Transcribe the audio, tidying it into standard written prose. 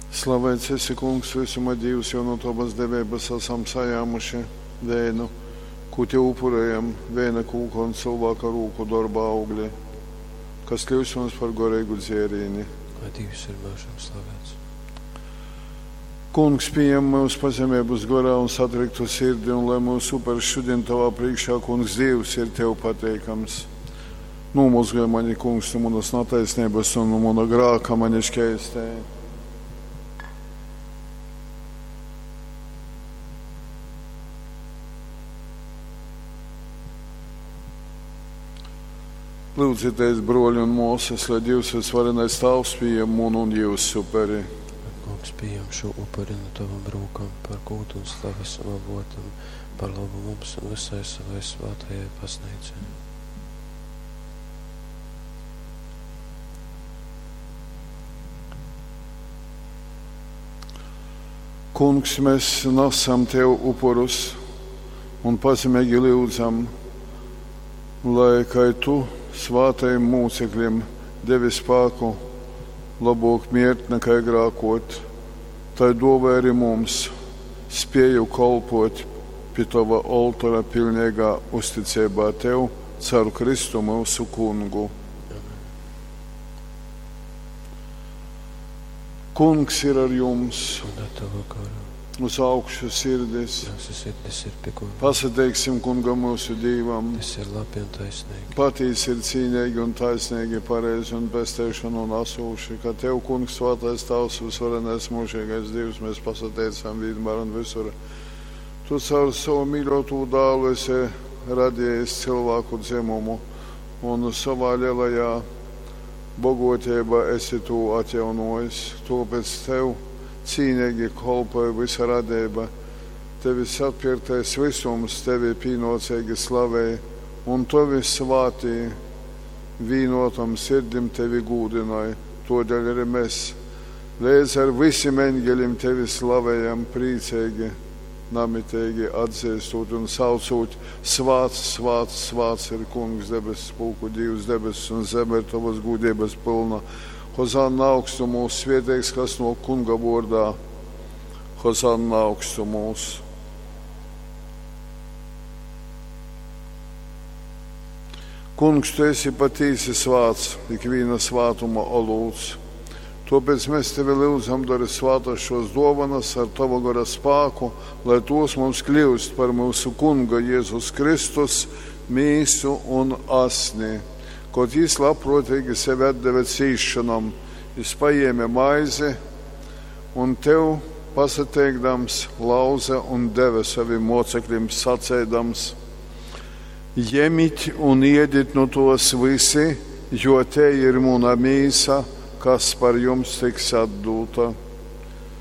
Slaveits esi, Kungs, vysuma Dīvs, jo nu tovas deveibas asam sajāmuši veinu, kū tev upurējam, veina kūka un cylvāka rūku dorba augli, kas kļūst mums par goreigu dzērīni. Lai Dīvs ir myužam slavēts. Kungs, pījem myus pazemeibas gorā un satriktu sirdi, un lai mūsu upers šodien tavā priekšā, Kungs, Dievs, ir tev pateikams. Nomozgaj mani, Kungs, no manas netaisnības un no mana grāka mani šķēstē. Lūdzieties, broļi un māsas, lai Dievs visvarenais Tēvs pieņem munu un jūsu uperi. Ak, Kungs, pieņem šo upuri no tavam rūkam par gūdu un slavas un avotam, par labu mums un visai savai svētajai baznīcai. Kungs, mēs nesam Tev upurus un pazemīgi lūdzam, lai, kā Tu svātajiem mūcekļiem devi spēku labok miert nekā grākot, tai dāvā arī mums spēju kolpot pie Tava oltora pilnīgā uzticībā Tev, caur Kristu mūsu kungu. Kungs ir ar jums, Un ar tavu garu. Uz augšu sirdis. Mūsu sirdis ir pie kunga. Pasateiksim kungam mūsu Dīvam. Tas ir labi un taisnīgi. Patīsi ir cīnīgi un taisnīgi, pareizi un pesteišanu un asūši, ka Tev, Kungs, svētais Tavs, visvarenais mūžīgais Dievs, mēs pasateicam vienmēr un visur. Tu caur savu mīļoto dālu esi radījis cilvēku dzimumu un savā lielajā bogotībā esi to atjaunojis. Tāpēc Tev cīnīgi kolpoja visa radība. Tevis atpirktais visums tevi pienācīgi slavēja, un tavi svātī vīnotam sirdim tevi gūdināja. Todēļ arī mēs līdz ar visiem eņģeļiem tevi slavējam priecīgi, namitīgi atzīstot un saucot: Svāts, svāts, svāts ir Kungs, debesu pulku Dievs, debesis un zeme ir tavas gūdības pilna. Hozanna augstumos, svētīgs, kas no Kunga vārdā. Hozanna augstumos. Kungs, tu esi patīsi svāts, ikviena svātuma olūts. Tāpēc mēs tevi lūdzam, dari svātas šos dovanas ar tavu gara spēku, lai tos mums kļūst par mūsu Kunga Jēzus Kristus mīsu un asni. Kaut jis labprātīgi sevi atdeva cīšanam, jis paēma maizi un tev pasateikdams lauza un deva saviem mocekļiem sacēdams: Ņemiet un iediet no tos visi, jo te ir mana mīsa, kas par jums tiks atdota.